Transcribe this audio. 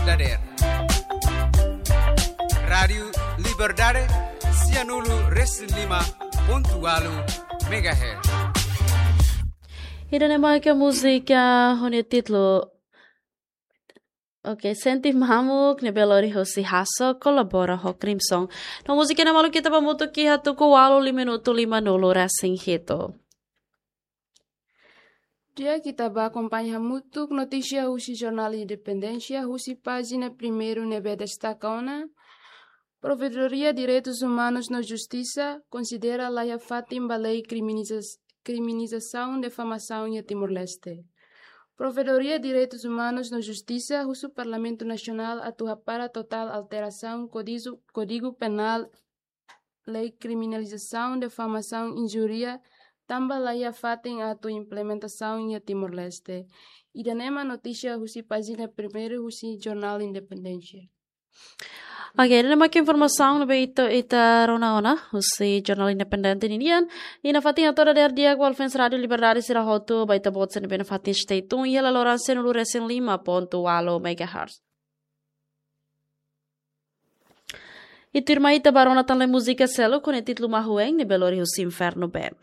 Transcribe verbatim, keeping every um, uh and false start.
dadeer. Rádiu Liberdade, sianulu resin lima pontu walu megahertz. Ida-ne'e mak múzika ho nia títulu, oke, Sente Mamuk, ne'ebé lori husi Hasso, kolabora ho Crimson. No múzika ne'e malu ita ba hamutuk iha tuku ualu lima minutu lima nulu resin hitu. Di'ak, ita ba akompaña hamutuk notísia husi Jornál Independénsia, husi pájina primeiru ne'ebé destaka ona: Provedoria Direitus Umanus no Justisa konsidera laiha fatin ba lei kriminaliza-, kriminalizasaun difamasaun iha Timor-Leste. Provedoria Direitus Umanus no Justisa husu Parlamentu Nasionál atu hapara totál alterasaun Kódigu, Kódigu Penál, lei kriminalizasaun difamasaun injúria, tanba laiha fatin atu implementasaun iha Timor-Leste. Ida-ne'e mak notísia husi pájina primeiru husi Jornál Independénsia. Oke, ida-ne'e mak informasaun ne'ebé ita, ita rona ona husi Jornál Independente ninian. I nafatin hato'o dadeer di'ak ba fans Rádiu Liberdade sira hotu, ba ita-boot sira ne'ebé nafatin stay tune iha laloran sianulu resin lima pontu walu megahertz. I tuirmai ita ba rona tan lai múzika seluk ho nia títulu Mahueng, ne'ebé lori husi Inferno Band.